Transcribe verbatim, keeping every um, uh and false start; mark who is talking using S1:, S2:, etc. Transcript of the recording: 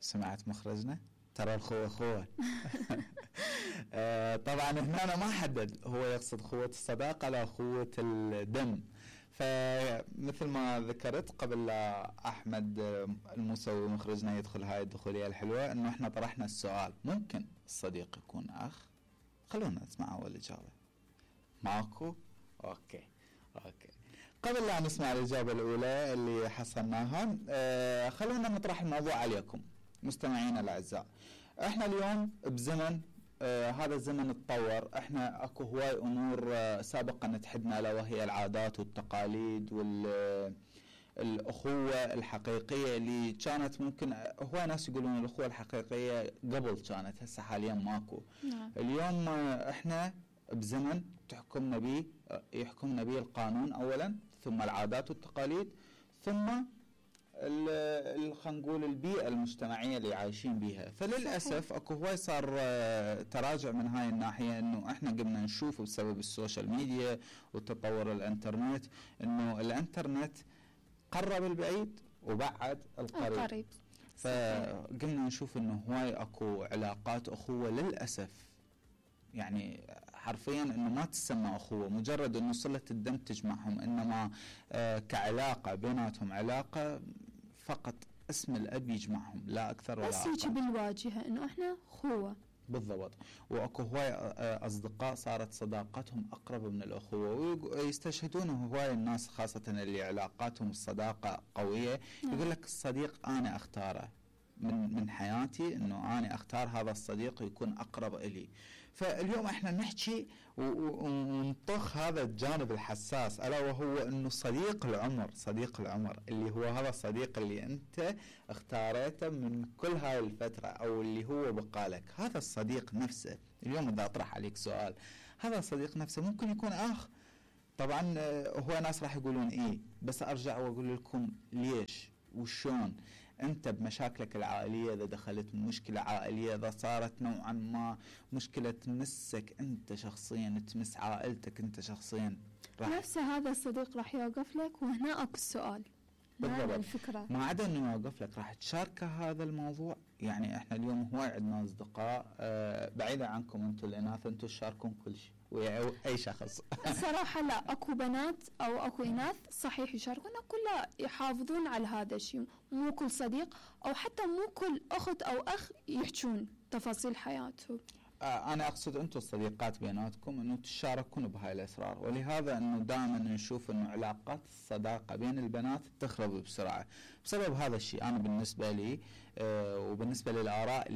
S1: سمعت مخرجنا؟ ترى الخوة خوة. آه طبعا هنا أنا ما حدد هو يقصد خوة الصداقة لا خوة الدم. فمثل ما ذكرت قبل لا أحمد الموسوي مخرجنا يدخل هاي الدخولية الحلوة، أنه إحنا طرحنا السؤال: ممكن الصديق يكون أخ؟ خلونا نسمع أول إجابة. ماكو؟ أوكي أوكي قبل لا نسمع الإجابة الأولى اللي حصلناها، آه خلونا نطرح الموضوع عليكم مستمعينا الأعزاء. إحنا اليوم بزمن آه هذا الزمن تطور. إحنا أكو هواي أمور آه سابقا نتحدنا له، وهي العادات والتقاليد والأخوة الحقيقية اللي كانت ممكن هواي ناس يقولون الأخوة الحقيقية قبل كانت، هسه حاليا ماكو.
S2: نعم.
S1: اليوم آه إحنا بزمن تحكمنا به يحكمنا به القانون أولا، ثم العادات والتقاليد، ثم خلينا نقول البيئة المجتمعية اللي عايشين بها. فللأسف اكو هواي صار تراجع من هاي الناحية، انه احنا قمنا نشوف بسبب السوشيال ميديا وتطور الانترنت انه الانترنت قرب البعيد وبعد القريب,
S2: القريب.
S1: فقمنا نشوف انه هواي اكو علاقات اخوة للأسف، يعني حرفيا انه ما تسمى اخوه مجرد انه صلة الدم تجمعهم، انما آه كعلاقة بيناتهم علاقة فقط اسم الاب يجمعهم لا اكثر ولا اقل.
S2: بس هيك بالواجهة انه احنا اخوة
S1: بالضبط. واكو هواي اصدقاء صارت صداقتهم اقرب من الاخوة، ويستشهدون هواي الناس خاصة اللي علاقاتهم الصداقة قوية.
S2: نعم.
S1: يقول لك الصديق انا اختاره من من حياتي، انه انا اختار هذا الصديق يكون اقرب الي. فاليوم احنا نحكي ونطخ هذا الجانب الحساس، الا وهو انه صديق العمر، صديق العمر اللي هو هذا الصديق اللي انت اختاريته من كل هاي الفترة، او اللي هو بقالك. هذا الصديق نفسه اليوم اذا اطرح عليك سؤال، هذا الصديق نفسه ممكن يكون اخ؟ طبعا هو ناس راح يقولون ايه، بس ارجع واقول لكم ليش وشون. انت بمشاكلك العائلية، اذا دخلت مشكلة عائلية، اذا صارت نوعا ما مشكلة تمسك انت شخصيا، تمس عائلتك انت شخصيا،
S2: نفس هذا الصديق راح يوقف لك. وهنا اكو السؤال،
S1: بالضبط.
S2: الفكرة
S1: ما عدا انه يوقف لك راح تشاركه هذا الموضوع. يعني احنا اليوم هواي عندنا اصدقاء آه بعيدا عنكم انتم الاناث، انتم تشاركون كل شيء واي شخص.
S2: الصراحة لا، اكو بنات او اكو اناث صحيح يشاركون، اكو لا يحافظون على هذا الشيء. مو كل صديق او حتى مو كل اخت او اخ يحجون تفاصيل حياتهم.
S1: آه أنا أقصد أنتم الصديقات بيناتكم أنه تشاركون بهاي الأسرار، ولهذا أنه دائما نشوف أنه علاقات الصداقة بين البنات تخرب بسرعة بسبب هذا الشيء. أنا بالنسبة لي آه وبالنسبة للآراء